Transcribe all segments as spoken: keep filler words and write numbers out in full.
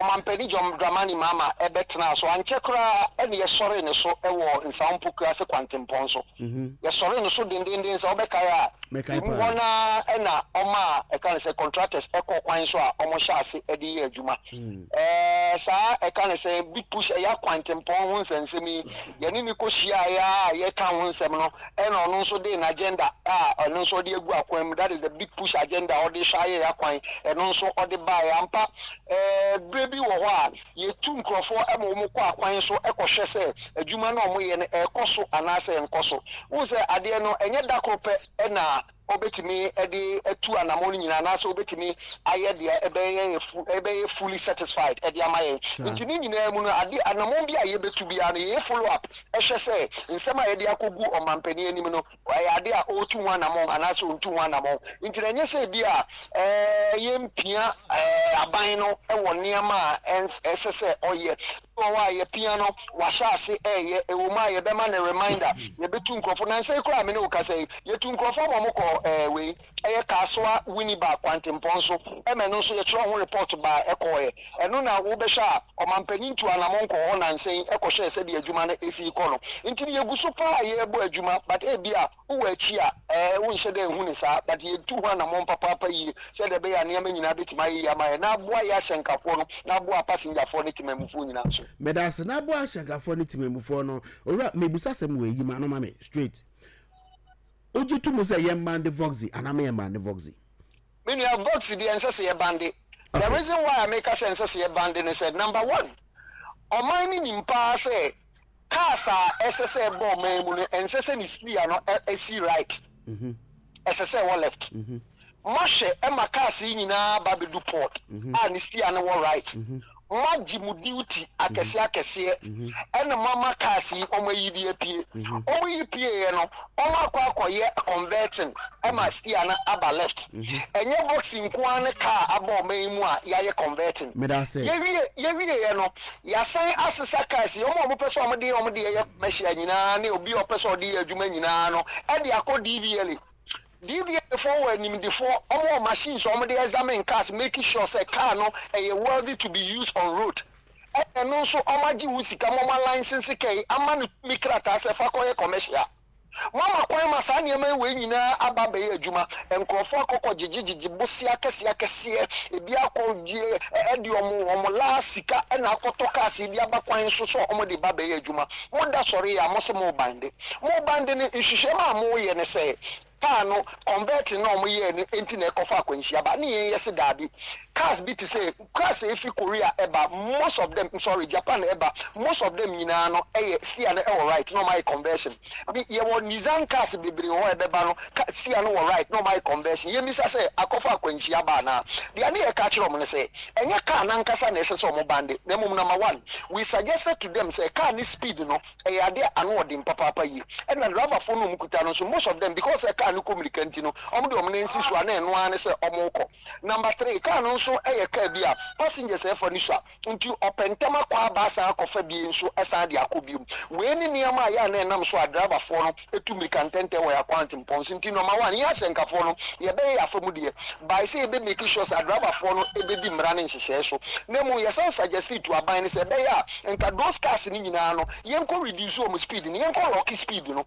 Ɔmampanin John Dramani Mahama ɛbɛtena so ankyɛ koraa ɛne yɛsɔre ne so ɛwɔ Nsawam Pokuase kwantempɔn so. Yɛsɔre ne so dendenden sɛ wobɛkae a, Mɛkae emu paa. hɔ naa ɛna ɔma a ɛka ne sɛ contractors ɛkɔ kwan so a ɔmo hyɛ ase ɛde yɛ adwuma. ɛɛ saa ɛka ne sɛ Big Push ɛyɛ akwantempɔn ho nsɛnsɛm yi, yɛne ne kɔ hyia a yɛka ho nsɛm no, ɛna ɔno nso de n'agenda a ɔno nso ɔde agu akwan mu, that is the Big Push agenda a ɔde hwɛ ayɛ akwan, ɛno nso ɔde baeɛ ampa. ɛɛ bere bi wɔ hɔ a yɛtu nkurɔfoɔ ɛma wɔn kɔ akwan so ɛkɔhwɛ sɛ adwuma no a wɔyɛ no ɛrekɔ so anaasɛ ɛnkɔ so. Wohu sɛ adeɛ no ɛnyɛ da koro pɛ ɛna wobɛtumi ɛde atu anammɔn no nyinaa anaasɛ wobɛtumi ayɛ deɛ ɛbɛyɛ fu ɛbɛyɛ fully satisfied ɛde ama yɛn. Nti ne nyinaa mu no, ade anammɔn bi a yɛbɛtu biara no, yɛyɛ follow up ɛhwɛ sɛ nsɛm a yɛde akɔgu ɔmampanin anim no ɛyɛ ade a ɔretu ho anammɔn anaasɛ ɔntu ho anammɔn. Nti na ɛnyɛ sɛ bi a ɛɛ yɛmpia ɛɛ aban no ɛwɔ nneɛma a ɛns ɛsɛ sɛ ɔyɛ wɔ hɔ a yɛpia no wahyɛ ase ɛɛyɛ. Ɛwɔ mu a yɛbɛma no reminder, yɛbɛtu nkurɔfo nansa yi koraa a me ne wo kasa yi, yɛtu nkurɔfoɔ ma ɔmo kɔ ɛɛ wei ɛyɛ Kasoa Winneba kwantempɔn so, ɛmɛ no nso yɛtwerɛ ho report baa ɛkɔɔɛ. Ɛno na wobɛhwɛ a ɔmampanin tu anammɔn kɔ hɔ nansa yi ɛkɔhwɛ sɛdeɛ adwuma no esi kɔ no. Nti no yɛgu so paa a yɛrebɔ adwuma, but ebi a wowɔ akyi a ɛɛ wonhyɛ dɛ nhu ne saa, but yɛtu ho anammɔn papaapa yie sɛdeɛ ɛbɛyɛ a nneɛma nyinaa bɛtumi ayɛ yie ama yɛn na aboa yɛ ahyɛnkafoɔ no na aboa passengerfoɔ ne temamufoɔ nyinaa nso. Meda ase. Na aboa ahyɛnkafoɔ ne temamufoɔ no, owura, mebusa sɛm wɔ eyi ma no ma me straight. Wogye to mu sɛ yɛn ban Voxy anaa meyɛ ban Voxy? Me nua, Voxy deɛ, ɛnsɛ sɛ yɛ ban. The Okay. reason why a meka sɛ ɛnsɛ sɛ yɛ ban ne sɛ, number one, ɔman no nim paa sɛ cars a ɛsɛ sɛ ɛbɔ ɔman mu no, ɛnsɛ sɛ ne steer no ɛ- ɛsi right, ɛsɛ sɛ ɛwɔ left. Mahwɛ ɛma cars yi nyinaa ba bɛdu port a ne steer no wɔ right, moagye mo duty akɛseɛ akɛseɛ, ɛna moama cars yi ɔmo ayi de apue. Ɔmo yi pieɛ no, ɔmo akɔ akɔyɛ converting ɛma steer no aba left. Ɛnyɛ Voxy nko ara ne car aba ɔman yi mu a yɛayɛ converting. Meda ase. Yɛwie yɛwieɛ no, yɛasan asesa cars yi, ɔmo a ɔmo pɛ sɛ ɔmo de ɔmo de yɛ commercial nyinaa ne obi a ɔpɛ sɛ ɔde yɛ adwuma nyinaa no ɛde akɔ D V L A. D V L A foɔ wɔ animdefoɔ, ɔmo wɔ machines a ɔmo de examine cars, making sure sɛ car no ɛyɛ worthy to be used on road. Ɛna ɛno nso ɔmo agye wo sika ma ɔmo license kaa yi ama no tumi krataa sɛ fa kɔyɛ commercial. Mama kwan ma saa nneɛma yi wei nyinaa aba abɛyɛ adwuma. Nkurɔfoɔ akɔkɔ gyegyegyegye bosia akɛseɛ akɛseɛ, ebi akɔ gye ɛde ɔmo ɔmo laa sika ɛna akɔtɔ cars yi de aba kwan so so ɔmo de ba abɛyɛ adwuma. Mo da sɔre yɛ a mo sɛ mo ban de mo ban no, nhwehwɛmu a mo yɛ ne sɛ kaa no convert na ɔmo yɛɛ no enti na ɛkɔfa akwanhyia ba ne yɛn yɛ se daabi. Cars bi te sɛ cars a efi Korea ɛba, most of them, sorry, Japan ɛba, most of them nyinaa no ɛyɛ steer no ɛwɔ right na ɔmo ayɛ conversion bi. Yɛwɔ Nissan cars bebree wɔ hɔ a ɛbɛba no ka steer no wɔ right na ɔmo ayɛ conversion. Yɛmisa sɛ akɔfa akwanhyia ba anaa deɛ ne yɛka kyerɛ ɔmo no sɛ ɛnyɛ car nankasa na ɛsɛ sɛ ɔmo ban na mmom, number one, we suggested to them sɛ car ne speed no ɛyɛ adeɛ a ano ɔden papaapa yie, ɛna driverfoɔ no a ɔmo kuta no nso, most of them, because sɛ car no kɔ mirika nti no, ɔmo de ɔmo nan si so a na ɛno ara ne sɛ ɔmo kɔ. Number three, car no nso ɛyɛ car bi a passengers ɛfa no so a nti ɔpɛ ntɛm akɔ aba asan akɔfa bie nso ɛsan de akɔ biom. Wei ne nneɛma a yɛ a na ɛnam so a driverfoɔ no etu mirika ntɛntɛn wɔ yɛ akwantempɔn so. Nti number one, yɛn ahyɛnkafoɔ no yɛbɛyɛ yɛ afa mu deɛ by sɛ yɛbɛ make sure sɛ driverfoɔ no ebɛdi mmara ne nhyehyɛe so. Na mu yɛsan suggest to aban no sɛ ɛbɛyɛ a nka those cars no nyinaa no, yɛnkɔ reduce wɔn speed no, yɛnkɔ lock speed no,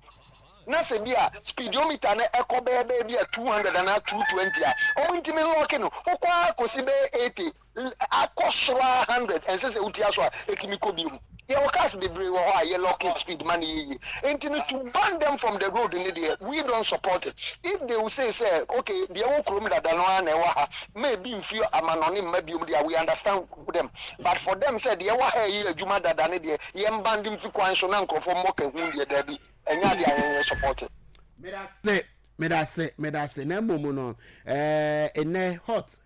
na sɛ bi a speedometer no ɛkɔ bɛyɛ bɛyɛ bi a two hundred anaa two twenty a, ɔmo ntumi lock no wokɔ akɔsi bɛyɛ eighty akɔ soro a hundred, ɛnsɛ sɛ wotia so a ɛtumi kɔ bio mu. Yɛwɔ cars bebree wɔ hɔ a yɛ lock speed ma no yɛ yie. Nti no, to ban them from the road ne deɛ, we don't support it. If they will say sɛ okay, deɛ ɛwɔ kurom dada no ara na ɛwɔ ha ma ebi nfi amanɔne mma biom deɛ, we understand them, but for them sɛ deɛ ɛwɔ ha yɛ adwuma dada ne deɛ, yɛn ban de mfi kwan so na nkurɔfoɔ mmɔ kahu deɛ, daabi, ɛnyɛ adeɛ a yɛn yɛ support it. Medase, medase, medase. Na mmom no, ɛɛ ɛnɛ Hot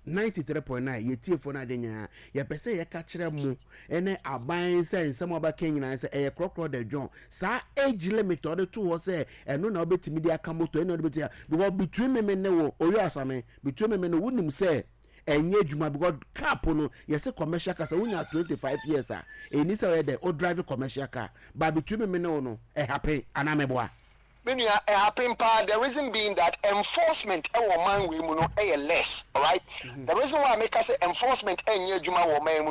ninety-three point nine yɛtiefoɔ no ade nyinaa, yɛpɛ sɛ yɛka kyerɛ mo ɛne aban sɛ nsɛm a wɔbɛka nyinaa sɛ ɛyɛ korɔkorɔ de dwɔn saa age limit a ɔde to hɔ sɛ ɛno na wobɛtumi de aka moto ɛna wode bɛtumi, because between me me ne wo, Oyɛ Asame, between me me ne wo, wonim sɛ ɛnyɛ adwuma, because cap no yɛsɛ commercial car sɛ wonya twenty-five years a ɛni sɛ ɔyɛ dɛ o drive commercial car, but between me me ne wo no, ɛhappen anaa mɛboa? Me nua, ɛhappen paa. The reason being that enforcement ɛwɔ ɔman wei mu no ɛyɛ less, alright? The reason why meka sɛ enforcement ɛnyɛ adwuma wɔ ɔman mu no